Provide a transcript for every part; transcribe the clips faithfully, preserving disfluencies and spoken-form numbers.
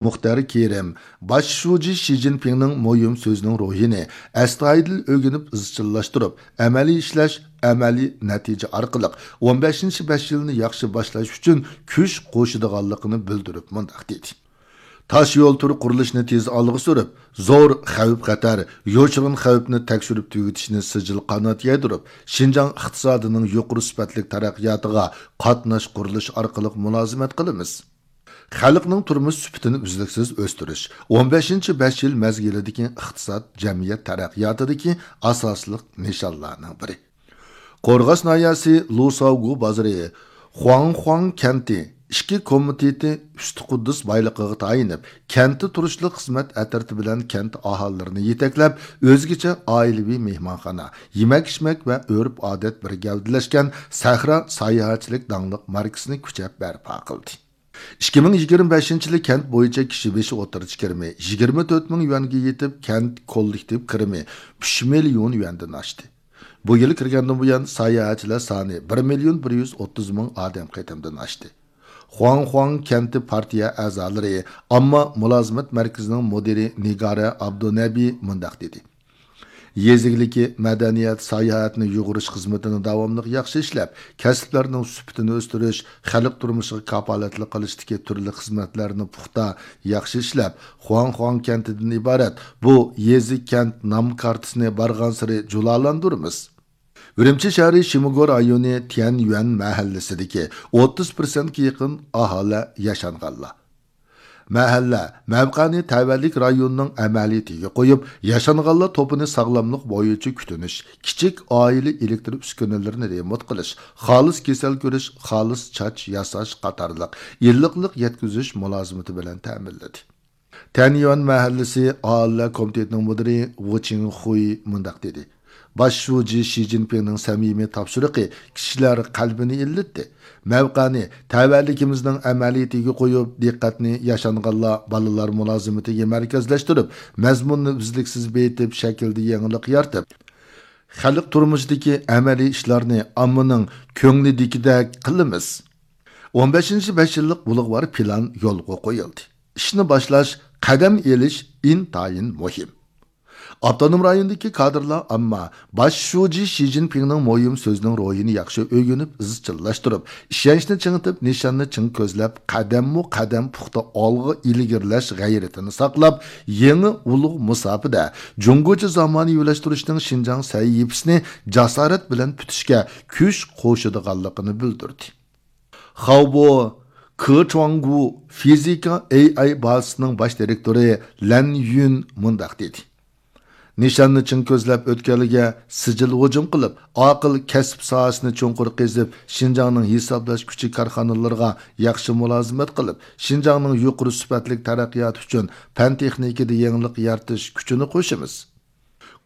مۇختەر كېرىم باش شۇجى شى جىنپىڭنىڭ مۇھىم سۆزىنىڭ روھىنى ئەستايىدىل ئۆگىنىپ ئىزچىللاشتۇرۇپ، ئەمەلىي ئىشلەش، ئەمەلىي نەتىجە ئارقىلىق ئون بەشىنچى بەش يىلنى ياخشى باشلاش ئۈچۈن كۈچ قوشىدىغانلىقىنى بىلدۈرۈپ مۇنداق دېدى: تاش يول تۈر قۇرۇلۇشىنى تېز ئالغا سۈرۈپ، زور خەۋپ-خەتەر، يوشۇرۇن خەۋپنى تەكشۈرۈپ تۈگىتىشنى سىجىل قانات يايدۇرۇپ، شىنجاڭ ئىقتىسادىنىڭ يۇقىرى سۈپەتلىك تەرەققىياتىغا قاتناش قۇرۇلۇش ئارقىلىق مۇلازىمەت قىلىمىز. خەلقنىڭ تۇرمۇش سۈپىتىنى ئۈزلۈكسىز ئۆستۈرۈش، ئون بەشىنچى بەش يىل مەزگىلىدىكى ئىقتىساد، جەمئىيەت تەرەققىياتىدىكى ئاساسلىق نىشانلارنىڭ بىرى. قورغاس ناھىيەسى لۇساۋگۇ بازىرى خۇاڭخۇاڭ كەنتى ئىچكى كومىتېتى ئۈستى قۇددۇس بايلىقىغا تايىنىپ، كەنتتە تۇرۇشلۇق خىزمەت ئەترىتى بىلەن كەنت ئاھالىلىرىنى يېتەكلەپ، ئۆزگىچە ئائىلىۋى مېھمانخانا، يېمەك-ئىچمەك ۋە ئۆرپ-ئادەت بىر گەۋدىلەشكەن سەھرا ساياھەتچىلىك داڭلىق ماركىسىنى كۈچەپ بەرپا قىلدى. ئىككى مىڭ يىگىرمە بەشىنچى يىلى كەنت بويىچە كىشى بېشى ئوتتۇرىچە كىرىمى يىگىرمە تۆت مىڭ يۈەنگە يېتىپ، كەنت كوللېكتىپ كىرىمى ئۈچ مىليون يۈەندىن ئاشتى. بۇ يىل كىرگەندىن بۇيان، ساياھەتچىلەر سانى بىر مىليون بىر يۈز ئوتتۇز مىڭ ئادەم قېتىمدىن ئاشتى. خۇاڭخۇاڭ كەنتى پارتىيە ئەزالىرى، ئامما مۇلازىمەت مەركىزىنىڭ مۇدىرى نىگارە ئابدۇنەبى مۇنداق دېدى: يېزا ئىگىلىكى، مەدەنىيەت، ساياھەتنى يۇغۇرۇش خىزمىتىنى داۋاملىق ياخشى ئىشلەپ، كەسىپلەرنىڭ سۈپىتىنى ئۆستۈرۈش، خەلق تۇرمۇشىغا كاپالەتلىك قىلىشتىكى تۈرلۈك خىزمەتلەرنى پۇختا ياخشى ئىشلەپ، خۇاڭخۇاڭ كەنتىدىن ئىبارەت بۇ يېزا، كەنت نام كارتىسىنى بارغانسېرى جۇلالاندۇرىمىز. ئۈرۈمچى شەھىرى شىموگو رايونى تيەنيۈەن مەھەللىسىدىكى ئوتتۇز پىرسەنتكە يېقىن ئاھالە ياشانغانلار. مەھەللە مەۋقەنى تەۋەلىك رايوننىڭ ئەمەلىيىتىگە قويۇپ، ياشانغانلار توپىنى ساغلاملىق بويىچە كۈتۈنۈش، كىچىك ئائىلە ئېلېكتر ئۈسكۈنىلىرىنى رېمونت قىلىش، خالىس كېسەل كۆرۈش، خالىس چاچ ياساش قاتارلىق ئىللىقلىق يەتكۈزۈش مۇلازىمىتى بىلەن تەمىنلىدى. تەنيۈەن مەھەللىسى ئاھالىلەر كومىتېتىنىڭ مۇدىرى ۋۇ چىڭخۇي مۇنداق دېدى: باش شۇجى شى جىنپىڭنىڭ سەمىمىي تاپشۇرۇقى كىشىلەر قەلبىنى ئىللىتتى. مەۋقەنى تەۋەلىكىمىزنىڭ ئەمەلىيىتىگە قويۇپ، دىققەتنى ياشانغانلار، بالىلار مۇلازىمىتىگە مەركەزلەشتۈرۈپ، مەزمۇننى ئۈزلۈكسىز بېيىتىپ، شەكىلدە يېڭىلىق يارىتىپ، خەلق تۇرمۇشىدىكى ئەمەلىي ئىشلارنى ئاممىنىڭ كۆڭلىدىكىدەك قىلىمىز. ئون بەشىنچى بەش يىللىق ئۇلۇغۋار پىلان يولغا قويۇلدى. ئىشنى باشلاش، قەدەم ئېلىش ئىنتايىن مۇھىم. ئاپتونوم رايوندىكى كادىرلار ئامما باش شۇجى شى جىنپىڭنىڭ مۇھىم سۆزىنىڭ روھىنى ياخشى ئۆگىنىپ، ئىزچىللاشتۇرۇپ، ئىشەنچنى چىڭىتىپ، نىشاننى چىڭ كۆزلەپ، قەدەممۇ قەدەم پۇختا ئالغا ئىلگىرىلەش غەيرىتىنى ساقلاپ، يېڭى ئۇلۇغ مۇساپىدە جۇڭگوچە زامانىۋىلاشتۇرۇشنىڭ شىنجاڭ سەھىپىسىنى جاسارەت بىلەن پۈتۈشكە كۈچ قوشىدىغانلىقىنى بىلدۈردى. خاۋبو كېچۇاڭگۇ فىزىكا ئېي ئاي بازىسىنىڭ باش دىرېكتورى لەن يۈن مۇنداق دېدى: نىشاننى چىڭ كۆزلەپ، ئۆتكەلگە سىجىل ھۇجۇم قىلىپ، ئاقىل كەسىپ ساھەسىنى چوڭقۇر قېزىپ، شىنجاڭنىڭ ھېسابلاش كۈچى كارخانىلىرىغا ياخشى مۇلازىمەت قىلىپ، شىنجاڭنىڭ يۇقىرى سۈپەتلىك تەرەققىياتى ئۈچۈن پەن تېخنىكىدا يېڭىلىق يارىتىش كۈچىنى قوشىمىز.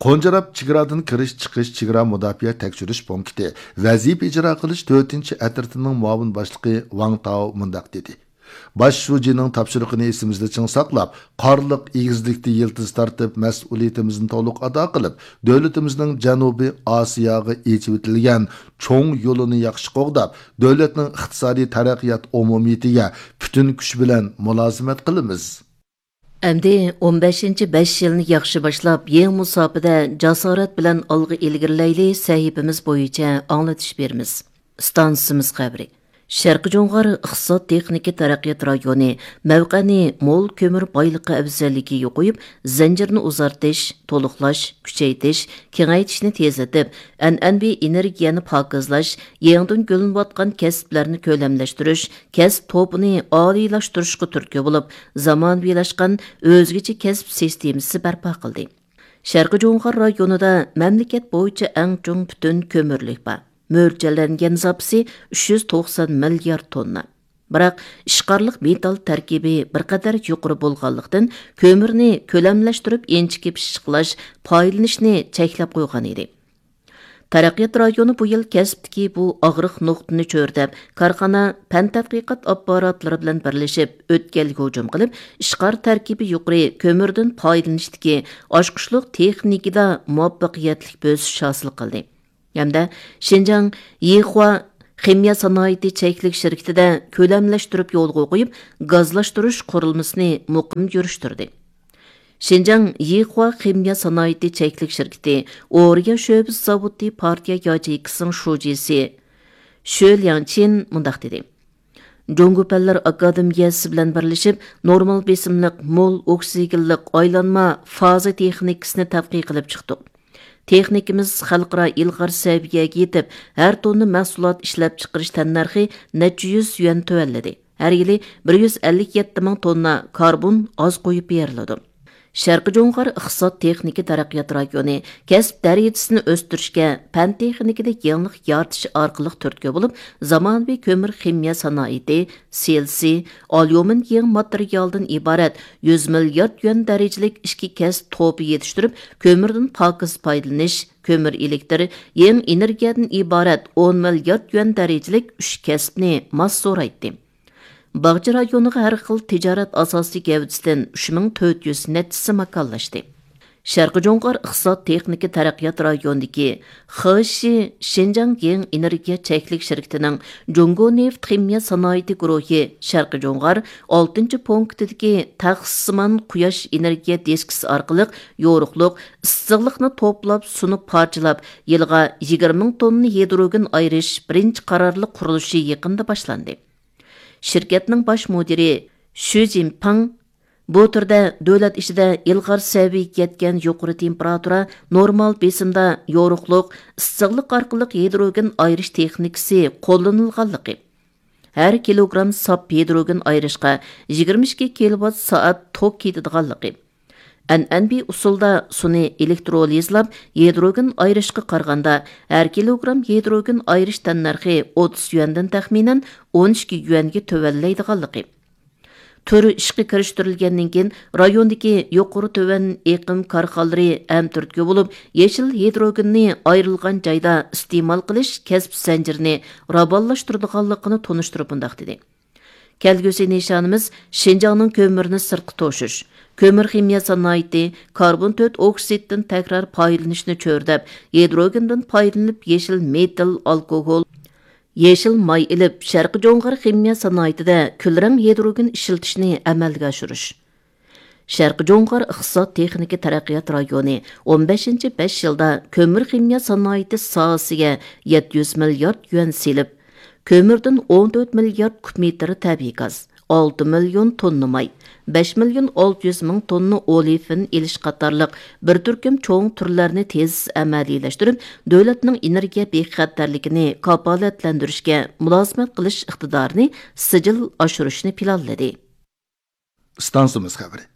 قونجىراپ چېگرادىن كىرىش چىقىش چېگرا مۇداپىئە تەكشۈرۈش پونكىتى ۋەزىپە ئىجرا قىلىش تۆتىنچى ئەترىتىنىڭ مۇئاۋىن باشلىقى ۋاڭ تاۋ مۇنداق دېدى: باش شۇجىنىڭ تاپشۇرۇقىنى ئېسىمىزدە چىڭ ساقلاپ، قارلىق ئېگىزلىكتە يىلتىز تارتىپ، مەسئۇلىيىتىمىزنى تولۇق ئادا قىلىپ، دۆلىتىمىزنىڭ جەنۇبىي ئاسىياغا ئېچىۋېتىلگەن چوڭ يولىنى ياخشى قوغداپ، دۆلەتنىڭ ئىقتىسادىي تەرەققىيات ئومۇمىيىتىگە پۈتۈن كۈچ بىلەن مۇلازىمەت قىلىمىز. ئەمدى ئون بەشىنچى بەش يىلنى ياخشى باشلاپ، يېڭى مۇساپىدە جاسارەت بىلەن ئالغا ئىلگىرىلەيلى سەھىپىمىز بويىچە ئاڭلىتىش بېرىمىز. ئىستانسىمىز خەۋىرى. شەرقىي جۇڭغار ئىقتىساد تېخنىكا تەرەققىيات رايونى مەۋقەنى مول كۆمۈر بايلىقى ئەۋزەللىكىگە قويۇپ، زەنجىرنى ئۇزارتىش، تولۇقلاش، كۈچەيتىش، كېڭەيتىشنى تېزلىتىپ، ئەنئەنىۋى ئېنېرگىيەنى پاكىزلاش، يېڭىدىن گۈللىنىۋاتقان كەسىپلەرنى كۆلەملەشتۈرۈش، كەسىپ توپىنى ئالىيلاشتۇرۇشقا تۈرتكە بولۇپ، زامانىۋىلاشقان ئۆزگىچە كەسىپ سىستېمىسى بەرپا قىلدى. شەرقىي جۇڭغار رايونىدا مەملىكەت بويىچە ئەڭ چوڭ پۈتۈن كۆمۈرلۈك بار. مۆلچەرلەنگەن زاپىسى ئۈچ يۈز توقسان مىليارد توننا. بىراق، ئىشقارلىق مېتال تەركىبى بىر قەدەر يۇقىرى بولغانلىقتىن، كۆمۈرنى كۆلەملەشتۈرۈپ ئىنچىكە پىششىقلاش، پايدىلىنىشنى چەكلەپ قويغان ئىدى. تەرەققىيات رايونى بۇ يىل كەسىپتىكى بۇ ئاغرىق نۇقتىنى چۆرىدەپ، كارخانا، پەن تەتقىقات ئاپپاراتلىرى بىلەن بىرلىشىپ، ئۆتكەلگە ھۇجۇم قىلىپ، ئىشقار تەركىبى يۇقىرى كۆمۈردىن پايدىلىنىشتىكى ئاچقۇچلۇق تېخنىكىدا مۇۋەپپەقىيەتلىك بۆسۈش ھاسىل قىلدى. ھەمدە شىنجاڭ يىخۇا خىمىيە سانائىتى چەكلىك شىركىتىدە كۆلەملەشتۈرۈپ يولغا قويۇپ، گازلاشتۇرۇش قۇرۇلمىسىنى مۇقىم يۈرۈشتۈردى. شىنجاڭ يىخۇا خىمىيە سانائىتى چەكلىك شىركىتى ئورىيا شۆبە زاۋۇتى پارتىيە ياچېيكىسىنىڭ شۇجىسى شۆ لياڭچىن مۇنداق دېدى: جۇڭگو پەنلەر ئاكادېمىيەسى بىلەن بىرلىشىپ، نورمال بېسىملىق، مول ئوكسىگېنلىق ئايلانما فازا تېخنىكىسىنى تەتقىق قىلىپ چىقتۇق. تېخنىكىمىز خەلقئارا ئىلغار سەۋىيەگە يېتىپ، ھەر توننا مەھسۇلات ئىشلەپچىقىرىش تەننەرخى نەچچە يۈز يۈەن تۆۋەنلىدى. ھەر يىلى بىر يۈز ئەللىك يەتتە مىڭ توننا كاربون ئاز قويۇپ بېرىلىدۇ. شەرقىي جۇڭغار ئىقتىساد تېخنىكا تەرەققىيات رايونى كەسىپ دەرىجىسىنى ئۆستۈرۈشكە پەن تېخنىكىدا يېڭىلىق يارىتىش ئارقىلىق تۈرتكە بولۇپ، زامانىۋى كۆمۈر خىمىيە سانائىتى، سىلىسىي، ئاليۇمىن يېڭى ماتېرىيالدىن ئىبارەت يۈز مىليارد يۈەن دەرىجىلىك ئىككى كەسىپ توپى يېتىشتۈرۈپ، كۆمۈردىن پاكىز پايدىلىنىش، كۆمۈر ئېلېكتىر، يېڭى ئېنېرگىيەدىن ئىبارەت ئون مىليارد يۈەن دەرىجىلىك ئۈچ كەسىپنى ماس زورايتتى. باغچە رايونىغا ھەر خىل تىجارەت ئاساسىي گەۋدىسىدىن ئۈچ مىڭ تۆت يۈز نەچچىسى ماكانلاشتى. شەرقىي جۇڭغار ئىقتىساد تېخنىكا تەرەققىيات رايونىدىكى خېشى شىنجاڭ يېڭى ئېنېرگىيە چەكلىك شىركىتىنىڭ جۇڭگو نېفىت خىمىيە سانائىتى گۇرۇھى شەرقىي جۇڭغار ئالتىنچى پونكىتىدىكى تەخسىسىمان قۇياش ئېنېرگىيە دىسكىسى ئارقىلىق يورۇقلۇق، ئىسسىقلىقنى توپلاپ، سۇنۇپ پارچىلاپ، يىلىغا يىگىرمە مىڭ توننا ھىدروگېن ئايرىش بىرىنچى قارارلىق قۇرۇلۇشى يېقىندا باشلاندى. شىركەتنىڭ باش مۇدىرى شۈ جىنپىڭ بۇ تۈردە دۆلەت ئىچىدە ئىلغار سەۋىيەگە يەتكەن يۇقىرى تېمپېراتۇرا، نورمال بېسىمدا يورۇقلۇق، ئىسسىقلىق ئارقىلىق ھىدروگېن ئايرىش تېخنىكىسى قوللىنىلغانلىقى، ھەر كىلوگرام ساپ ھىدروگېن ئايرىشقا يىگىرمە ئىككى كىلوۋات سائەت توك كېتىدىغانلىقى، ئەنئەنىۋى ئۇسۇلدا سۇنى ئېلېكترولىزلاپ ھىدروگېن ئايرىشقا قارىغاندا، ھەر كىلوگرام ھىدروگېن ئايرىش تەننەرخى ئوتتۇز يۈەندىن تەخمىنەن ئون ئىككى يۈەنگە تۆۋەنلەيدىغانلىقى، تۈر ئىشقا كىرىشتۈرۈلگەندىن كېيىن رايوندىكى يۇقىرى تۆۋەن ئېقىم كارخانىلىرى ھەم تۈرتكە بولۇپ، يېشىل ھىدروگېننى ئايرىلغان جايدا ئىستېمال قىلىش كەسىپ زەنجىرىنى راۋانلاشتۇرىدىغانلىقىنى تونۇشتۇرۇپ مۇنداق دېدى: كەلگۈسى نىشانىمىز شىنجاڭنىڭ كۆمۈرنى سىرتقا توشۇش، كۆمۈر خىمىيە سانائىتى، كاربون تۆت ئوكسىدتىن تەكرار پايدىلىنىشنى چۆرىدەپ، ھىدروگېندىن پايدىلىنىپ يېشىل مېتىل ئالكوگول، يېشىل ماي ئېلىپ، شەرقىي جۇڭغار خىمىيە سانائىتىدە كۈلرەڭ ھىدروگېن ئىشلىتىشنى ئەمەلگە ئاشۇرۇش. شەرقىي جۇڭغار ئىقتىساد تېخنىكا تەرەققىيات رايونى ئون بەشىنچى بەش يىلدا كۆمۈر خىمىيە سانائىتى ساھەسىگە يەتتە يۈز مىليارد يۈەن سېلىپ، كۆمۈردىن ئون تۆت مىليارد كۇب مېتىر تەبىئىي گاز، ئالتە مىليون توننا ماي، بەش مىليون ئالتە يۈز مىڭ توننا ئولىفىن ئېلىش قاتارلىق بىر تۈركۈم چوڭ تۈرلەرنى تېز ئەمەلىيلەشتۈرۈپ، دۆلەتنىڭ ئېنېرگىيە بىخەتەرلىكىنى كاپالەتلەندۈرۈشكە مۇلازىمەت قىلىش ئىقتىدارىنى سىجىل ئاشۇرۇشنى پىلانلىدى. ئىستانسىمىز خەۋىرى.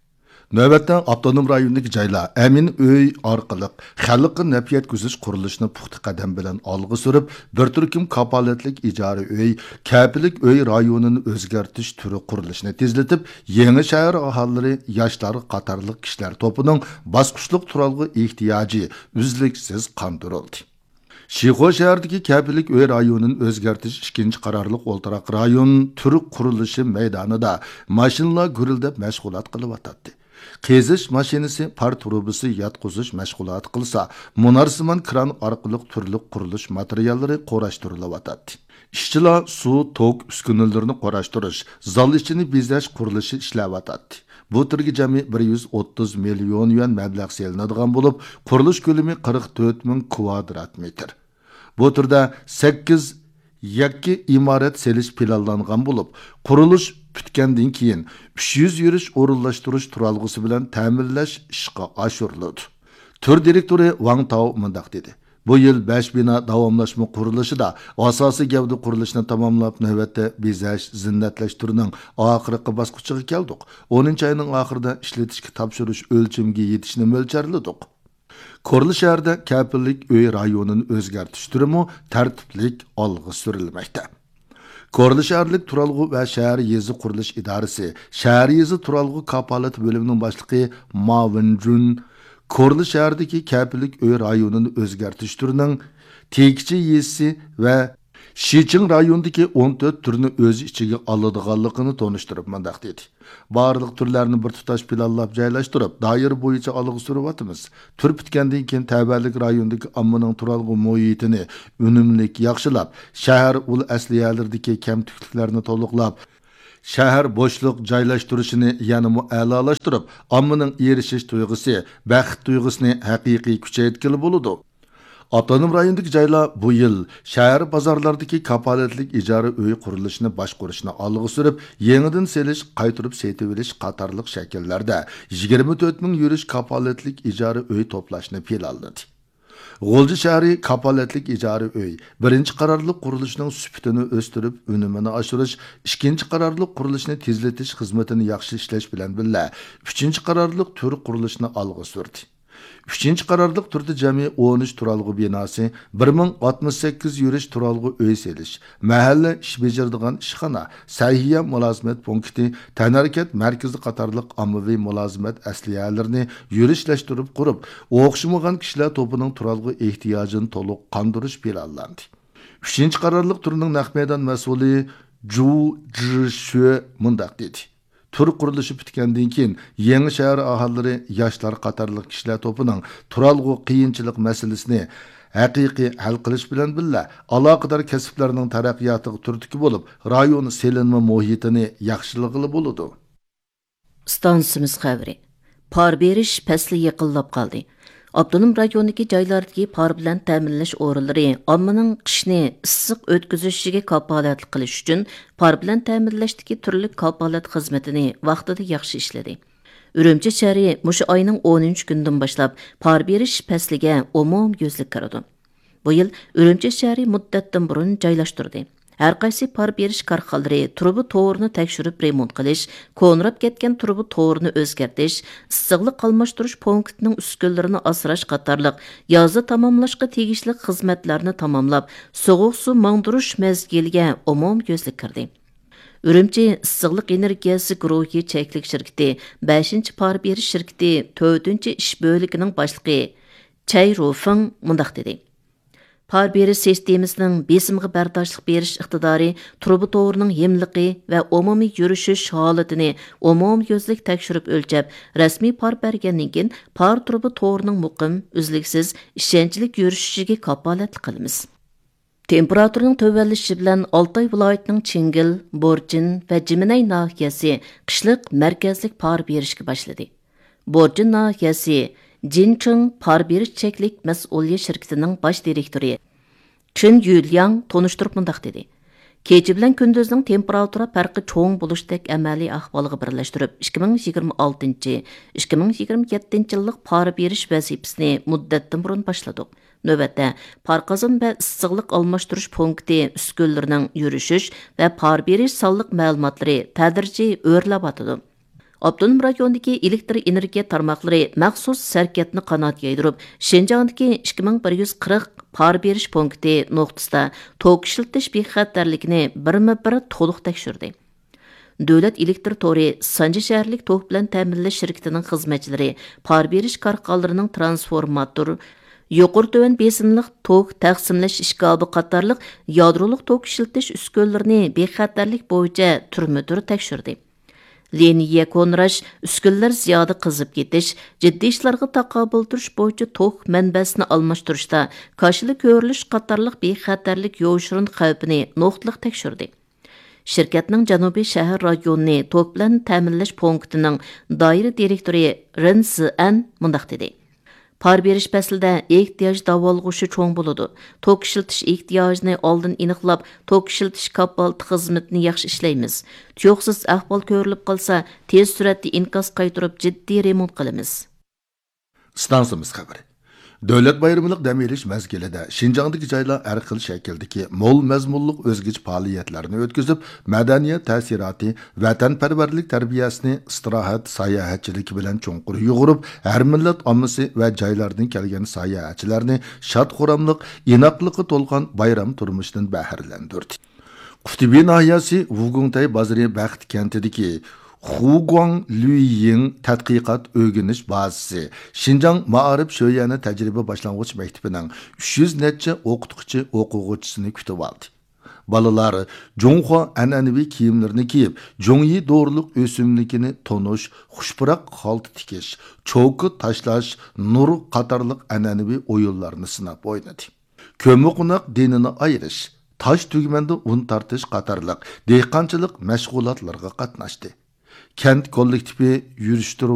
نۆۋەتتە ئاپتونوم رايوندىكى جايلار ئەمىن ئۆي ئارقىلىق خەلققە نەپ يەتكۈزۈش قۇرۇلۇشىنى پۇختا قەدەم بىلەن ئالغا سۈرۈپ، بىر تۈركۈم كاپالەتلىك ئىجارە ئۆي، كەپىلىك ئۆي رايونىنى ئۆزگەرتىش تۈرى قۇرۇلۇشىنى تېزلىتىپ، يېڭى شەھەر ئاھالىلىرى، ياشلار قاتارلىق كىشىلەر توپىنىڭ باسقۇچلۇق تۇرالغۇ ئېھتىياجى ئۈزلۈكسىز قاندۇرۇلدى. شىخۇ شەھىرىدىكى كەپىلىك ئۆي رايونىنى ئۆزگەرتىش ئىككىنچى قارارلىق ئولتۇراق رايون تۈر قۇرۇلۇشى مەيدانىدا ماشىنىلار گۈرۈلدەپ مەشغۇلات قىلىۋاتاتتى. قېزىش ماشىنىسى پار تۇرۇبىسى ياتقۇزۇش مەشغۇلاتى قىلسا، مۇنارسىمان كران ئارقىلىق تۈرلۈك قۇرۇلۇش ماتېرىياللىرى قۇراشتۇرۇلۇۋاتاتتى. ئىشچىلار سۇ، توك ئۈسكۈنىلىرىنى قۇراشتۇرۇش، زال ئىچىنى بېزەش قۇرۇلۇشى ئىشلەۋاتاتتى. بۇ تۈرگە جەمئىي بىر يۈز ئوتتۇز مىليون يۈەن مەبلەغ سېلىنىدىغان بولۇپ، قۇرۇلۇش كۆلىمى قىرىق تۆت مىڭ كۋادرات مېتىر. بۇ تۈردە سەككىز يەككە ئىمارەت سېلىش پىلانلانغان بولۇپ، قۇرۇلۇش پۈتكەندىن كېيىن، ئۈچ يۈز يۈرۈش ئورۇنلاشتۇرۇش تۇرالغۇسى بىلەن تەمىنلەش ئىشقا ئاشۇرۇلىدۇ. تۈر دىرېكتورى ۋاڭ تاۋ مۇنداق دېدى: بۇ يىل بەش بىنا داۋاملاشما قۇرۇلۇشىدا ئاساسىي گەۋدە قۇرۇلۇشىنى تاماملاپ، نۆۋەتتە بېزەش، زىننەتلەشتۈرنىڭ ئاخىرقى باسقۇچىغا كەلدۇق. ئونىنچى ئاينىڭ ئاخىرىدا ئىشلىتىشكە تاپشۇرۇش ئۆلچىمىگە يېتىشنى مۆلچەرلىدۇق. كورلا شەھەردە كەپىللىك ئۆي رايونىنى ئۆزگەرتىش تۈرىمۇ تەرتىپلىك ئالغا سۈرۈلمەكتە. كورلا شەھەرلىك تۇرالغۇ ۋە شەھەر يېزا قۇرۇلۇش ئىدارىسى شەھەر يېزا تۇرالغۇ كاپالىتى بۆلۈمىنىڭ باشلىقى ما ۋېنجۈن كورلا شەھەردىكى كەپىللىك ئۆي رايونىنى ئۆزگەرتىش تۈرىنىڭ تېكىچى يېزىسى ۋە شىچىڭ رايونىدىكى ئون تۆت تۈرنى ئۆز ئىچىگە ئالىدىغانلىقىنى تونۇشتۇرۇپ مۇنداق دېدى: بارلىق تۈرلەرنى بىر تۇتاش پىلانلاپ جايلاشتۇرۇپ، دائىرە بويىچە ئالغا سۈرۈۋاتىمىز. تۈر پۈتكەندىن كېيىن تەۋەلىك رايوندىكى ئاممىنىڭ تۇرالغۇ مۇھىتىنى ئۈنۈملۈك ياخشىلاپ، شەھەر ئۇل ئەسلىھەلىرىدىكى كەمتۈكلۈكلەرنى تولۇقلاپ، شەھەر بوشلۇق جايلاشتۇرۇشىنى يەنىمۇ ئەلالاشتۇرۇپ، ئاممىنىڭ ئېرىشىش تۇيغۇسى، بەخت تۇيغۇسىنى ھەقىقىي كۈچەيتكىلى بولىدۇ. ئاپتونوم رايوندىكى جايلار بۇ يىل شەھەر بازارلاردىكى كاپالەتلىك ئىجارە ئۆي قۇرۇلۇشىنى باشقۇرۇشنى ئالغا سۈرۈپ، يېڭىدىن سېلىش، قايتۇرۇپ سېتىۋېلىش قاتارلىق شەكىللەردە يىگىرمە تۆت مىڭ يۈرۈش كاپالەتلىك ئىجارە ئۆي توپلاشنى پىلانلىدى. غۇلجا شەھىرى كاپالەتلىك ئىجارە ئۆي بىرىنچى قارارلىق قۇرۇلۇشنىڭ سۈپىتىنى ئۆستۈرۈپ، ئۈنۈمىنى ئاشۇرۇش، ئىككىنچى قارارلىق قۇرۇلۇشنى تېزلىتىش خىزمىتىنى ياخشى ئىشلەش بىلەن بىللە، ئۈچىنچى قارارلىق تۈر قۇرۇلۇشىنى ئالغا سۈردى. ئۈچىنچى قارارلىق تۈردە جەمئىي ئون ئۈچ تۇرالغۇ بىناسى، بىر مىڭ ئاتمىش سەككىز يۈرۈش تۇرالغۇ ئۆي سېلىش، مەھەللە ئىش بېجىرىدىغان ئىشخانا، سەھىيە مۇلازىمەت پونكىتى، تەنھەرىكەت مەركىزى قاتارلىق ئاممىۋى مۇلازىمەت ئەسلىھەلىرىنى يۈرۈشلەشتۈرۈپ قۇرۇپ، ئوخشىمىغان كىشىلەر توپىنىڭ تۇرالغۇ ئېھتىياجىنى تولۇق قاندۇرۇش پىلانلاندى. ئۈچىنچى قارارلىق تۈرنىڭ نەق مەيدان مەسئۇلى جۇ جىشۈ مۇنداق دېدى: تۈر قۇرۇلۇشى پۈتكەندىن كېيىن، يېڭى شەھەر ئاھالىلىرى، ياشلار قاتارلىق كىشىلەر توپىنىڭ تۇرالغۇ قىيىنچىلىق مەسىلىسىنى ھەقىقىي ھەل قىلىش بىلەن بىللە، ئالاقىدار كەسىپلەرنىڭ تەرەققىياتىغا تۈرتكە بولۇپ، رايون سېلىنما مۇھىتىنى ياخشىلىغىلى بولىدۇ. ئىستانسىمىز خەۋىرى. پار بېرىش پەسلى يېقىنلاپ قالدى. ئاپتونوم رايوندىكى جايلاردىكى پار بىلەن تەمىنلەش ئورۇنلىرى ئاممىنىڭ قىشنى ئىسسىق ئۆتكۈزۈشىگە كاپالەتلىك قىلىش ئۈچۈن، پار بىلەن تەمىنلەشتىكى تۈرلۈك كاپالەت خىزمىتىنى ۋاقتىدا ياخشى ئىشلىدى. ئۈرۈمچى شەھىرى مۇشۇ ئاينىڭ ئونىنچى كۈنىدىن باشلاپ پار بېرىش پەسلىگە ئومۇميۈزلۈك كىرىدۇ. بۇ يىل ئۈرۈمچى شەھىرى مۇددەتتىن بۇرۇن جايلاشتۇردى. ھەرقايسى پار بېرىش كارخانىلىرى تۇرۇبا تورىنى تەكشۈرۈپ رېمونت قىلىش، كونىراپ كەتكەن تۇرۇبا تورىنى ئۆزگەرتىش، ئىسسىقلىق ئالماشتۇرۇش پونكىتىنىڭ ئۈسكۈنىلىرىنى ئاسراش قاتارلىق يازدا تاماملاشقا تېگىشلىك خىزمەتلەرنى تاماملاپ، سوغۇق سۇ ماڭدۇرۇش مەزگىلىگە ئومۇميۈزلۈك كىردى. ئۈرۈمچى ئىسسىقلىق ئېنېرگىيەسى گۇرۇھى چەكلىك شىركىتى بەشىنچى پار بېرىش شىركىتى تۆتىنچى ئىش بۆلىكىنىڭ باشلىقى چەي رۇفېڭ مۇنداق دېدى: پار بېرىش سىستېمىسىنىڭ بېسىمغا بەرداشلىق بېرىش ئىقتىدارى، تۇرۇبا تورىنىڭ ھىملىقى ۋە ئومۇمىي يۈرۈشۈش ھالىتىنى ئومۇميۈزلۈك تەكشۈرۈپ ئۆلچەپ، رەسمىي پار بەرگەندىن كېيىن، پار تۇرۇبا تورىنىڭ مۇقىم، ئۈزلۈكسىز، ئىشەنچلىك يۈرۈشۈشىگە كاپالەتلىك قىلىمىز. تېمپېراتۇرىنىڭ تۆۋەنلىشىشى بىلەن ئالتاي ۋىلايىتىنىڭ چىڭگىل، بورجىن ۋە جىمىنەي ناھىيەسى قىشلىق مەركەزلىك پار بېرىشكە باشلىدى. بورجىن ناھىيەسى جىنچىڭ پار بېرىش چەكلىك مەسئۇلىيەت شىركىتىنىڭ باش دىرېكتورى چېن يۈلياڭ تونۇشتۇرۇپ مۇنداق دېدى: كېچە بىلەن كۈندۈزنىڭ تېمپېراتۇرا پەرقى چوڭ بولۇشتەك ئەمەلىي ئەھۋالغا بىرلەشتۈرۈپ، ئىككى مىڭ يىگىرمە ئالتىنچى، ئىككى مىڭ يىگىرمە يەتتىنچى يىللىق پار بېرىش ۋەزىپىسىنى مۇددەتتىن بۇرۇن باشلىدۇق. نۆۋەتتە، پار قازان ۋە ئىسسىقلىق ئالماشتۇرۇش پونكىتى ئۈسكۈنىلىرىنىڭ يۈرۈشۈش ۋە پار بېرىش سانلىق مەلۇماتلىرى تەدرىجىي ئۆرلەۋاتىدۇ. ئاپتونوم رايوندىكى ئېلېكتر ئېنېرگىيە تارماقلىرى مەخسۇس شىركەتنى قانات يايدۇرۇپ، شىنجاڭدىكى ئىككى مىڭ بىر يۈز قىرىق پار بېرىش پونكىتى نۇقتىسىدا توك ئىشلىتىش بىخەتەرلىكىنى بىرمۇ بىر تولۇق تەكشۈردى. دۆلەت ئېلېكتر تورى سانجى شەھەرلىك توك بىلەن تەمىنلەش شىركىتىنىڭ خىزمەتچىلىرى پار بېرىش كارخانىلىرىنىڭ ترانسفورماتور، يۇقىرى تۆۋەن بېسىملىق توك تەقسىملەش ئىشكاپى قاتارلىق يادرولۇق توك ئىشلىتىش ئۈسكۈنىلىرىنى بىخەتەرلىك بويىچە تۈرمە تۈر تەكشۈردى. لىنىيە كونىراش، ئۈسكۈنىلەر زىيادە قىزىپ كېتىش، جىددىي ئىشلارغا تاقابىل تۇرۇش بويىچە توك مەنبەسىنى ئالماشتۇرۇشتا كاشىلا كۆرۈلۈش قاتارلىق بىخەتەرلىك يوشۇرۇن خەۋپىنى نۇقتىلىق تەكشۈردى. شىركەتنىڭ جەنۇبىي شەھەر رايونىنى توك بىلەن تەمىنلەش پونكىتىنىڭ دائىرە دىرېكتورى رېن زىئەن مۇنداق دېدى: پار بېرىش پەسلىدە ئېھتىياج داۋالغۇشى چوڭ بولىدۇ. توك ئىشلىتىش ئېھتىياجىنى ئالدىن ئېنىقلاپ، توك ئىشلىتىش كاپالىتى خىزمىتىنى ياخشى ئىشلەيمىز. تۇيۇقسىز ئەھۋال كۆرۈلۈپ قالسا، تېز سۈرئەتتە ئىنكاس قايتۇرۇپ، جىددىي رېمونت قىلىمىز. ئىستانسىمىز خەۋىرى. دۆلەت بايرىملىق دەم ئېلىش مەزگىلىدە شىنجاڭدىكى جايلار ھەر خىل شەكىلدىكى مول مەزمۇنلۇق ئۆزگىچە پائالىيەتلەرنى ئۆتكۈزۈپ، مەدەنىيەت تەسىراتى، ۋەتەنپەرۋەرلىك تەربىيەسىنى ئىستىراھەت، ساياھەتچىلىكى بىلەن چوڭقۇر يۇغۇرۇپ، ھەر مىللەت ئاممىسى ۋە جايلاردىن كەلگەن ساياھەتچىلەرنى شاد-خۇراملىق، ئىناقلىققا تولغان بايرام تۇرمۇشىدىن بەھرىلەندۈردى. قۇتۇبى ناھىيەسى ۋۇگۇڭتەي بازىرى بەخت كەنتىدىكى خۇگۇاڭ لۈييىڭ تەتقىقات ئۆگىنىش بازىسى شىنجاڭ مائارىپ شۆيەنى تەجرىبە باشلانغۇچ مەكتىپىنىڭ ئۈچ يۈز نەچچە ئوقۇتقۇچى ئوقۇغۇچىسىنى كۈتۈۋالدى. بالىلار جۇڭخۇا ئەنئەنىۋى كىيىملىرىنى كىيىپ، جۇڭيى دورىلىق ئۆسۈملۈكىنى تونۇش، خۇش پۇراق خالتا تىكىش، چوكا تاشلاش، نۇر قاتارلىق ئەنئەنىۋى ئويۇنلارنى سىناپ ئوينىدى. كۆممىقوناق دېنىنى ئايرىش، تاش تۈگمەندە ئۇن تارتىش قاتارلىق دېھقانچىلىق مەشغۇلاتلىرىغا قاتناشتى. كەنت كوللېكتىپى يۈرۈشتۈرۈۋاتقان